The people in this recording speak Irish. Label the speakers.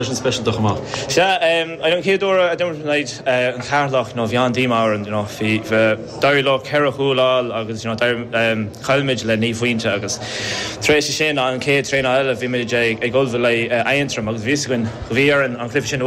Speaker 1: Sin speisialta chomh maith.
Speaker 2: Sea, an chéad uair a d'imir muid in aghaidh an Cheatharlach, you know, bhí an-díomá orainn, you know, bhí, d'éirigh leo ceithre chúl a fháil agus, you know, chaill muid le 9 phointe agus tar éis sin, an chéad traenáil eile, bhí muid ag ullmhú le Aontroim agus bhí fhios againn, bhí orainn an cluiche sin a.